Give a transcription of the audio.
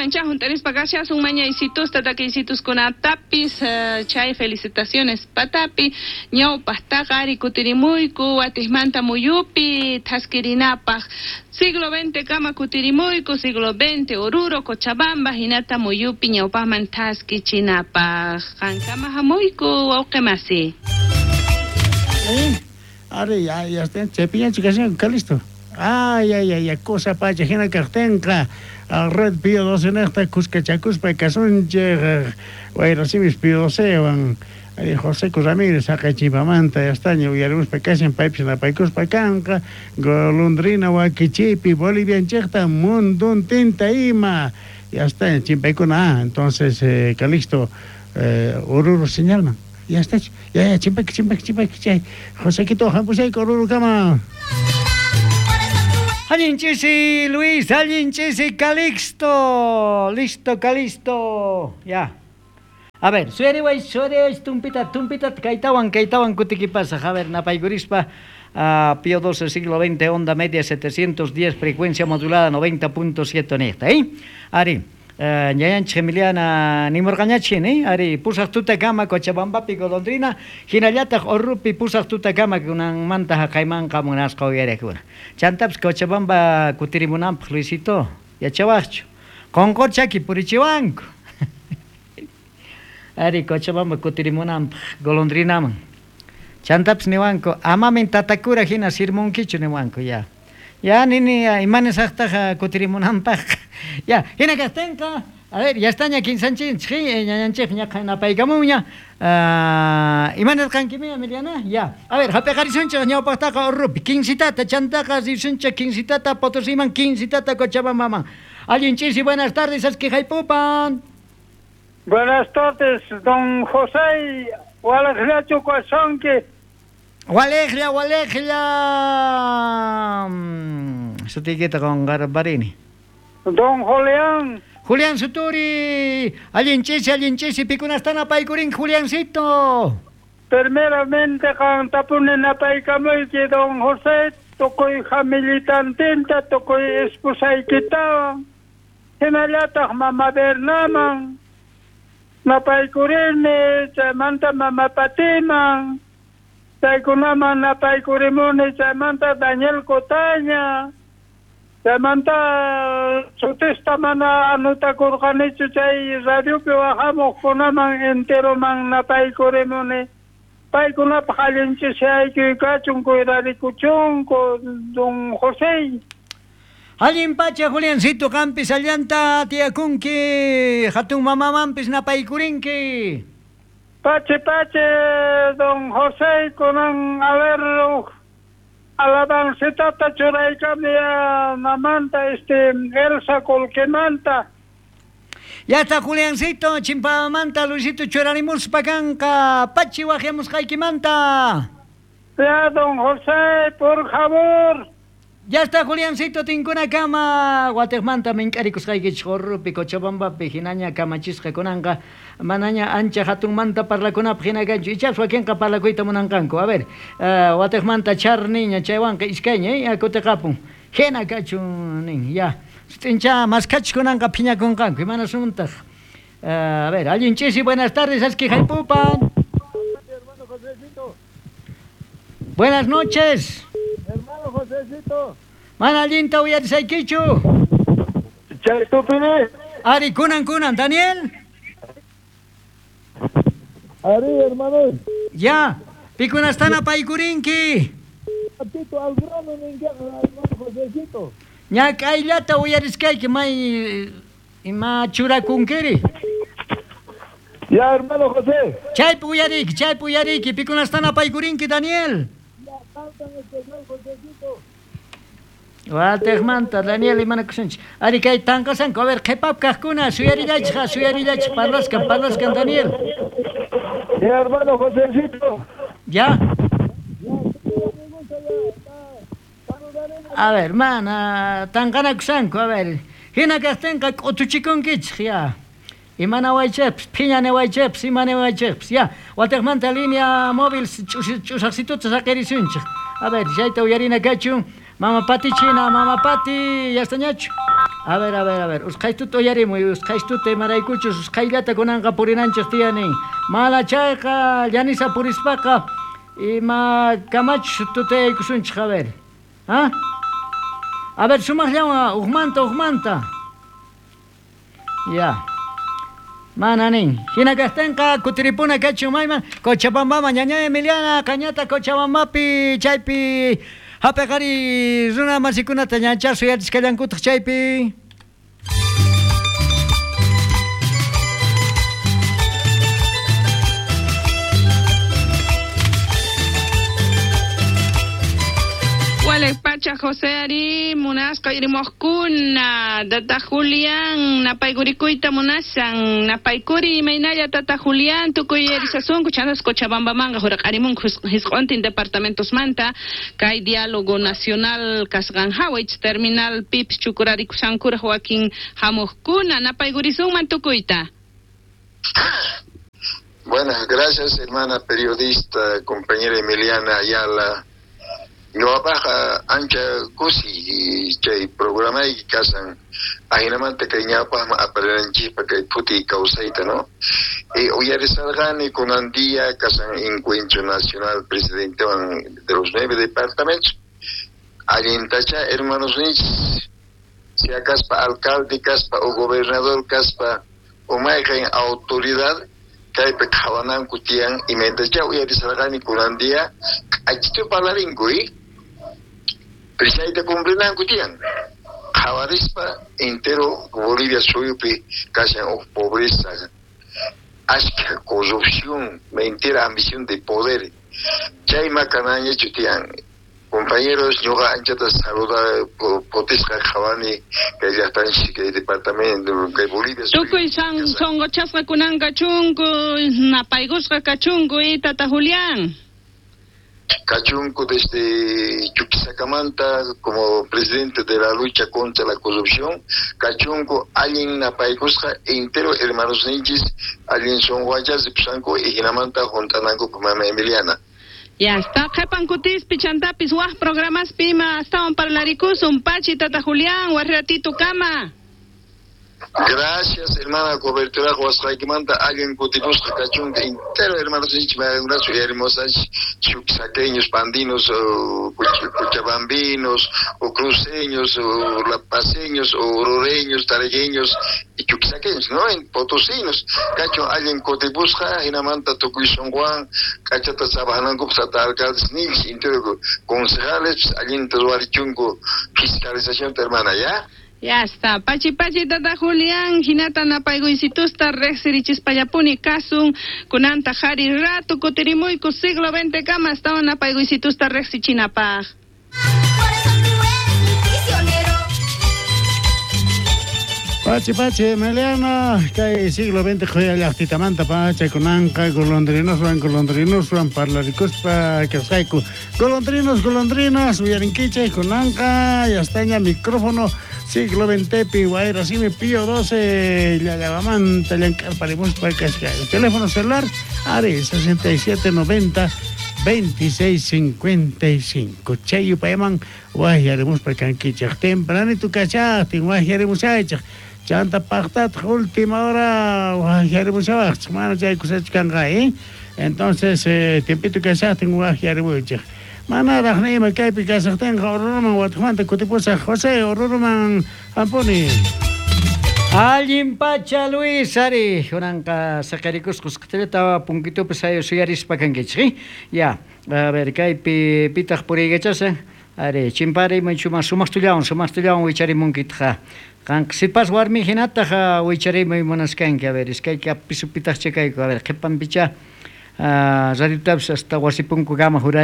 Qankumanchá hunt'arispa kashasun mañaysitusta takiysituskunatapis chay felicitaciones patapi ñawpaqtaqa ari kutirimuyku watiqmanta muyupi thaskirinapaq siglo XX kama kutirimuyku siglo XX Oruro Cochabamba hinata muyupi ñawpaqman thaskichinapaq qankama hamuyku wawqi masi. Ari, ya, ya está, chaypiñachu kashanku, Calisto. Ay, ay, ay, ay, cosa pacha hina kaqtinqa Red Pío 12 niqta kuskachakuspa kasunchik wayrasimis Pío 12wan ari Joseco Ramírez haqay chimpamanta ya estaña uyarimuspa kashan paypis napaykuspa kanqa golondrina wakichiypi Bolivianchikta munduntinta ima ya estaña chimpaykuna ah entonces Calixto Oruro señalman ya estachu ya ya chimpayki chimpayki chimpayki chay Josequito hampusayku Orurukama. Allin ch'isi Luis, allin ch'isi Calixto. Listo, Calixto. Ya. A ver, suyariway, suyariway, tumpita, tumpita, kaytawan, kaytawan kutikipasaj. A ver, napaykurispa, Pío XII, siglo XX, onda media 710, frecuencia modulada 90.7 niqta, ¿eh? Ari, ñayanchik Emiliana nimurqañachin, ¿eh? Ari, pusaq tutakama Cochabambapi golondrina, hinallataq Orrupi pusaq tutakama kunanmanta haqaymanqa munasqa uyariqkuna. Chantapis Cochabamba kutirimunanpaq Luisito, yachawaqchu. Qonqorchaki purichiwanku. Ari, Cochabamba kutirimunanpaq golondrinaman. Chantapis niwanku, amamin tatakura hina sirmunkichu niwanku ya. Ya, nini, imanisaqtaq kutirimunanpaq. Ya, hina kaqtinqa, a ver, ya estaña kinsanchinchik, ñañanchik ñaqa napaykamunña. Imanirqankimi, Emiliana? Ya. A ver, hap'iqarisunchik ñawpaqtaqa Orrupi, quincitata, chantaqa risunchik quincitata Potosiman, quincitata Cochabambaman. Allin ch'isi, buenas tardes, askijaypupan. Buenas tardes, don José, walejllachu kashanki. Walejlla, walejlla. Sutiykita qunqarparini. Don Julián. Julián Suturi, allin ch'isi, pikunastan apaykurin Juliancito. Primeramente qantapuni napaykamuyki don José, tukuy familitantinta, tukuy esposaykitawan, hinallataq mama Bernaman, napaykurini, chaymanta mama Patiman, chaykunaman napaykurimuni, chaymanta Daniel Cotaña, chaymanta sutista mana anutakurqanichu chay radiopi wahamuqkunaman enteroman napaykurimuni. Paykunapaq allin ch'isiyaykuy kachun, cuidarikuchunku, don José. Allin pacha, Juliancito, qampis allanta tiyakunki, hatun mamamanpis napaykurinki. Pache, pache, don José, kunan, a ver, alabancitata churaykami mamanta, Elsa Colquemanta. Ya está, Juliancito, chimpamanta, Luisito, churarimuspa kanqa, pachi waqyamusqaykimanta. Ya, don José, por favor. Ya está, Juliancito, tinkunakama, watiqmanta mink'arikusqaykichik Orrupi, Cochabambapi, hinaña kamachisqa kunanqa, manaña ancha hatunmanta parlakunapaq hina kanchu, ichapas wakinqa parlakuyta munanqanku. A ver, watiqmanta charniña, chaywanqa iskayña, kutiqapun. Hina kachun nin, ya. Sut'incha maskachik kunanqa phiñakunqanku, imanasuntaq. A ver, allin ch'isi, buenas tardes, askijaypupan. Hermano Josecito. Buenas noches. Hermano Josecito. Mana allinta uyarisaykichu. Chay tupini. Ari, kunan, kunan, Daniel. Ari, hermano. Ya, pikunastana paykurinki. Tito, al grano ninkiqa, hermano Josecito. Ñak'ayllata uyariskayki may ima churakunkiri. Ya, hermano José. Chaypi uyariyki, chaypi uyariyki, pikunastana paykurinki, Daniel. Ya, tantan especial, Josecito. Watiqmanta, Daniel, imanakusunchik. Ari, kay tanqasanku, a ver, qhipap kaqkuna, suyarillaychik, suyarillaychik, parlaskan, parlaskan, Daniel. Ya, hermano Josecito. Ya. A ver, mana, tanqanakusanku, a ver. Hina kaqtinqa k'utuchikunkichik, ya. Imanawaychikpis, phiñaniwaychikpis, imaniwaychikpis, ya. Watiqmanta línea móvil ch'usaqsituta saqirisunchik. A ver, chayta uyarina kachun. Mama Pati china, Mama Pati, ya estañachu. A ver, a ver, a ver. Usqhaytuta uyarimuy, usqhaytuta imaraykuchus usqhayllata kunanqa purinanchik tiyanin. Mana chayqa llanisa purispaqa ima kamachus tutayaykusunchik, a ver. ¿Ah? A ver, sumaqllawan ujmanta, ujmanta. Ya. Mana nin. Hina kaqtinqa kutiripuna kachun mayman Cochabambaman ñañay Emiliana qañata Cochabambapi chaypi hap'iqari runa masikunata ñanchá suyachisqallankutaq chaypi. Pacha José Ari munasqa irimuqkuna tata Julián napaykurikuyta munasan napaykuri imaynalla tata Julián tukuy erisasunku chantas Cochabambamanqa huraqarimunku hisq'untin departamentosmanta kay diálogo nacional kasqan hawa terminal pipis chukurarikushankuraq wakin hamuqkuna napaykurisunman tukuyta. Buenas, gracias hermana periodista, compañera Emiliana Ayala. Ñuqapaqqa ancha kusi chay programayki kasan ajinamanta kay ñawpaqman aparinanchikpa kay phuti kawsayta, ¿no? Uyarisarqani kunan día kasan encuentro nacional presidentewan de los 9 departamentos allintacha hermanos ninchis sea kaspa alcalde kaspa o gobernador kaspa o mayqin autoridad kaypi qhawananku tiyan imaytacha uyarisarqani kunan día k'achitu parlarinku Prisayta cumplinanku tiyan. Qhawarispa entero Bolivia suyupi kashan uj pobreza, ashka corrupción, mentira ambición de poder. Chay makanañachu tiyan. Compañeros, ñuqa anchata saluda potisqa qhawani kay llaqtanchik kay departamento kay Bolivia. Tukuy sunquchasqa kunan kachunku, napaykusqa kachunku tata Julián. Cachunco desde Chuquisacamanta como presidente de la lucha contra la corrupción, Cachunco, alguien napaykusqa entero hermanos ninchis, alguien son guayas de Psanco y Jinamanta juntananku mama Emiliana. Ya está, qhipan kutispi chantapis waj programas pima astawan parlarikusun pachi tata Julián, warratito kama. Gracias, hermana, cobertura huasqaykimanta allin kutipusqa kachunka entero hermanos ninchik mayunasu hermosas chuquisaqueños, pandinos, o cochabambinos, o cruceños, o lapaceños, o orureños, taragueños y chuquisaqueños, ¿no? En potosinos. Kachun allin kutipusqa hinamanta tukuy sunquwan kachata trabajanankupaq tata alcaldes ninchik entero concejales allinta ruwarichunku fiscalización hermana, ¿ya? Ya está. Pachi pachi tata Julián, hinata napaykuysitusta riqsirichispallapuni kasun kunanta jari rato kutirimuyku siglo XX kama astawan napaykuysitusta riqsichinapaq. Pachi pachi Emiliana, kay siglo XX qhuya llaqtitamanta pacha kunanqa golondrinoswan golondrinoswan parlarikuspa kasqayku. Golondrinos, golondrinas, uyarinkichik kunanqa ya está micrófono siglo XX wayra simi Pío 12 llallawamanta llank'arparimuspa kasqa. El teléfono celular ari 6790 2655. Chay yupayman wajyarimuspa kankichik. Tempranito kachaqtin wajyarimushaychik. Chanta paqtataq última hora wajyarimushawaqchik. Mana chay kusachu kanqa, ¿eh? Entonces, tiempito kachaqtin wajyarimuychik. Manaraq nima kaypi kashaqtinqa Oruruman watiqmanta kutipusaq. José, Oruruman hampuni. Allin pacha Luis ari kunanqa saqarikusqa usqhayllata punkitupi suyarispa kankichik. Ya, a ver kaypi pitaq puriykachashan ari chimparimuy sumaqtullawan wicharimunkitaq. Qanqa sipas warmi hinataq wicharimuy munaskanki. A ver iskayka pisupitaq chakayku. A ver qhipanpicha radiotapis hasta wasipunkukama juray.